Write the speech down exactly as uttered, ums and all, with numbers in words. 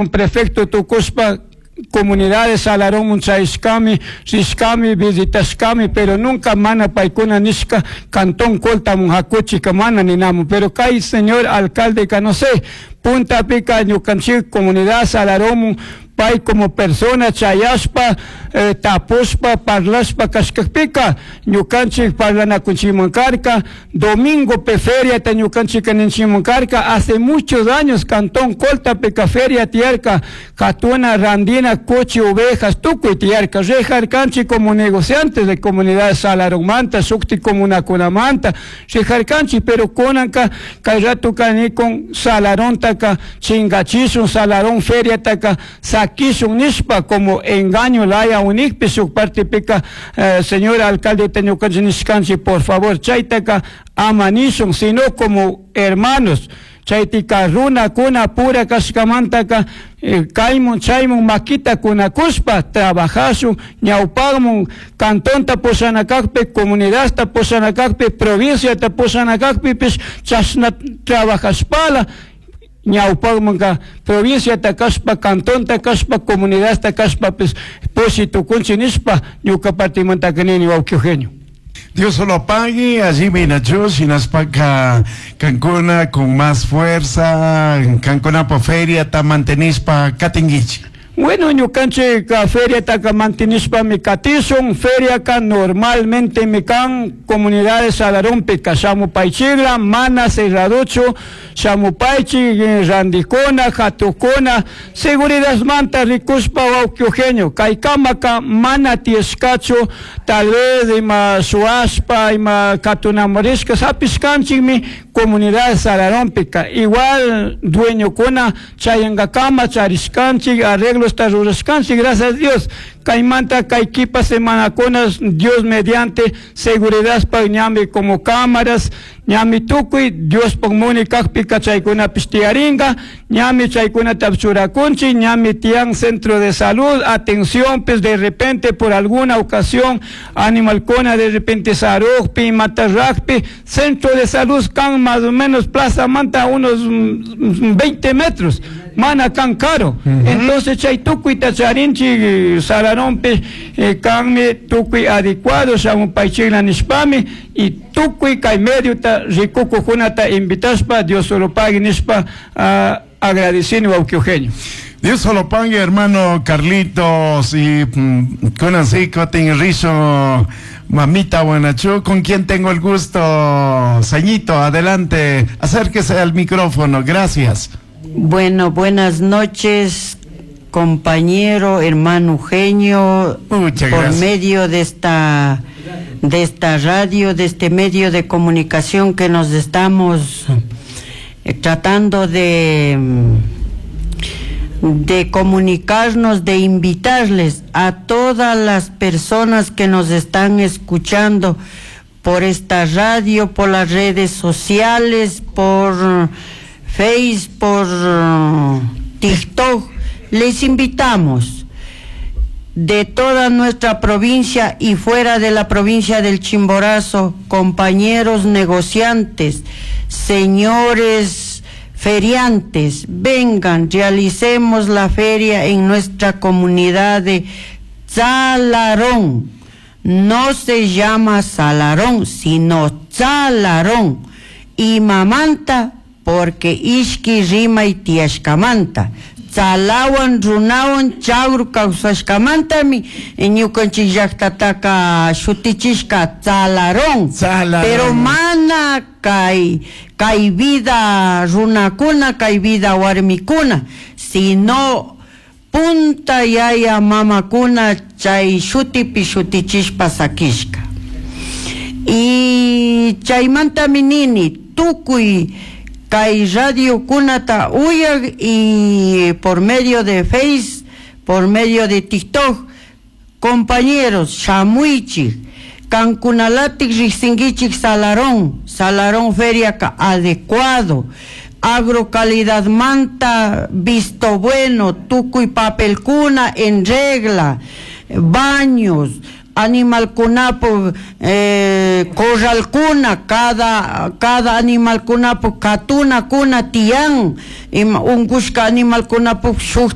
Prefecto tukushpa comunidades Salarón chayashkami, rishkami, visitashkami, pero nunca mana paykuna nishka cantón Coltamun hakuchika mana ninamun. Pero kay señor alcalde ka no sé, puntapika ñukanchik comunidad Salarón pay como persona chayashpa, eh, tapushpa, parlashpa kashkakpika ñukanchik parlanakunchikman karka. Domingo pe feria ta ñukanchik ninchikman karka. Hace muchos años cantón Coltapika feria tiyarka, katuna, randina, cuchi, ovejas, tukuy tiyarka. Rijarkanchik como negociantes de comunidad Salaromanta, shukti comunakunamanta rijarkanchik, pero kunanka kay ratuka nikun Salarontaka chingachishun, Salarón feriataka sakishun nishpa como engaño laya unikpi shuk partipika, eh, señor alcalde ñukanchik nishkanchik, por favor chaytaka ama nishun, sino como hermanos chaytika runakuna pura kashkamantaka, eh, kaymun chaymun makita kunakushpa trabajashun ñawpakmun cantonta pushanakakpi, comunidadta pushanakakpi, provinciata pushanakakpipish chashna trabajashpala ñawpakmanka provinciata kashpa, cantonta kashpa, comunidadta kashpapis pushi tukunchik nishpa ñuka partimantaka nini, wawki Eugenio. Dios lo pague, allí minachu, shinaspaka kankuna con más fuerza, kankuna po feria ta mantenispa katingichi. Bueno, ñukanchik feria taka mantenishpami katishun. Feria ka normalmente mi kan comunidades Salarompi shamupaychikla, mana cerradochu, shamupaychik randikuna, hatukuna, seguridadmanta rikushpa, wawki Eugenio, kaykamaka mana tiyashkachu, tal vez ima shuwashpa, ima katunamurishka, hapishkanchikmi comunidades Salarompika. Igual dueñokuna chayankakama charishkanchik, arreglos rurashkanchik, gracias a Dios. Kaymanta kay kipa semanakuna, Dios mediante, seguridad pa ñami como cámaras, ñami tukuy, Dios munay kakpika chaykunapish tiyarinka, ñami chaykunata churakunchik, ñami tiyan centro de salud, atención, pues de repente por alguna ocasión, animalkuna de repente sarukpi, matarrakpi, centro de salud kan más o menos plaza manta unos veinte metros, mana kan karu. Entonces chay tukuyta charinchik Salarompi, eh, kanmi tukuy adecuado shamupaychikla nishpami y tukuy kay mediota rikukukunata invitashpa Dios solo pague nishpa, uh, agradecini, wawki Eugenio. Dios solo pague, hermano Carlitos, y mm, kunan kutin rishun mamita Guanachú, con quien tengo el gusto. Señito, adelante, acérquese al micrófono, gracias. Bueno, buenas noches, compañero, hermano Eugenio. Muchas por gracias. Medio de esta, de esta radio, de este medio de comunicación que nos estamos, eh, tratando de, de comunicarnos, de invitarles a todas las personas que nos están escuchando por esta radio, por las redes sociales, por Face, por TikTok. Les invitamos de toda nuestra provincia y fuera de la provincia del Chimborazo, compañeros negociantes, señores feriantes, vengan, realicemos la feria en nuestra comunidad de Salarón. No se llama Salarón, sino Salarón. Y mamanta, porque ishki rimay tiyashkamanta. Tzalawan, runawan, chagru kawsashkamantami ñukanchik llaktataka shutichishka Tzalarón. Tzalarón. Pero mana kay, kay vida runakuna, kay vida warmikuna, sino punta yaya mamakuna chay shutipi shutichishpa sakishka. Y chaymantami nini, tukuy kay radio kunata uyak y por medio de Face, por medio de TikTok, compañeros, shamuichik, kankunalatik riksinkichik Salarón, Salarón feria ka adecuado, agrocalidad manta, visto bueno, tukuy papelkuna en regla, baños, animalkunapu eh, corralkuna cada cada animalkunapu katunakuna tiyan ima unkushka animalkunapu shuk